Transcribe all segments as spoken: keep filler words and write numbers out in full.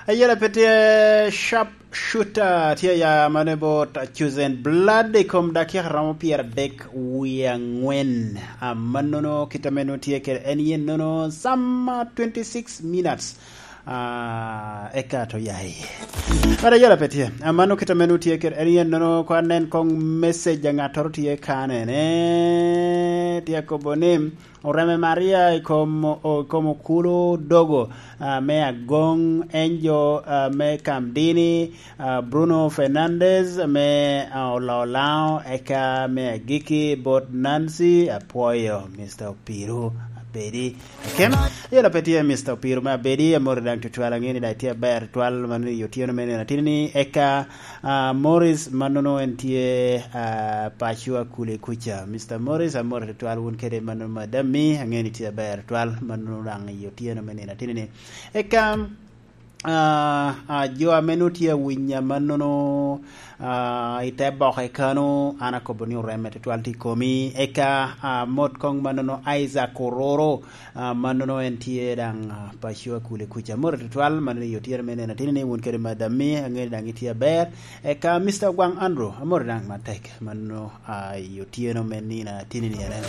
Ayela pe tye sharp shooter, tye ya mane bot Chosen Blood i kom dakika romo pyeradek wie angwen. Amannono kit ame nwoŋo tye kede en yen nono some twenty-six minutes. Ah, eka to ya iye. But ayela pe tye. Amano kit ame nwoŋo tye kede en yen nono, ko anen koŋ message a ŋattoro tye kane ne. Tye akobo ni, Oreme Maria i kom, o-, i kom okulu dogo, ah, me Agong, Angel, ah, me Kamdini, ah, Bruno Fernandez me, ah, Olaolao, eka me agikki bot Nancy, apwoyo, Mister Opiru, abedi. Ken, ayela pe tye Mister Opiru me abedi, amori daŋ tutwal, aŋeni daŋ tye aber tutwal, mano i otyeno me nino atini ni, eka Ah, Morris, mannono en tye, ah, paco Akule kuca. Mister Morris, amor tutwal wun kede mannono madam-mi, aŋeo ni tye aber tutwal, mannono daŋ i otyeno me nino atini ni. Eka, ah, ah, jo ame nwoŋo tye awinya mannono, ah, i te boke kano, an akobo ni oreme tutwal tye i komi. Eka, ah, mot koŋ mannono Isaac Ororo, Ah, mannono en tye daŋ, ah, paco Akule kuca. Amor tutwal, mannono i otyeno me nino atini ni wun kede madam-mi, aŋeo ni daŋ itye aber. Eka Mister Ogwaŋ Andrew, amor daŋ matek, mannono, ah, i otyeno me nino atini ni ene.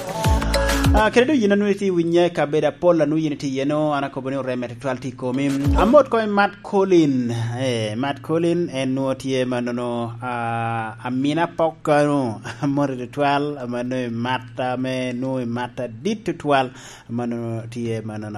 Ah, kede doŋ yin a nwoŋo itye i winya i kabedo apol a nwoŋo yin itye iye-nu, an akobo ni oreme tutwal tye i komi. Amot koŋ i Matt Colin, eh, Matt Colin en nwoŋo tye mannono, ah, amina pok kano, amor tutwal, mannono i mat ame nwoŋo i mat adit tutwal, mannono tye mannono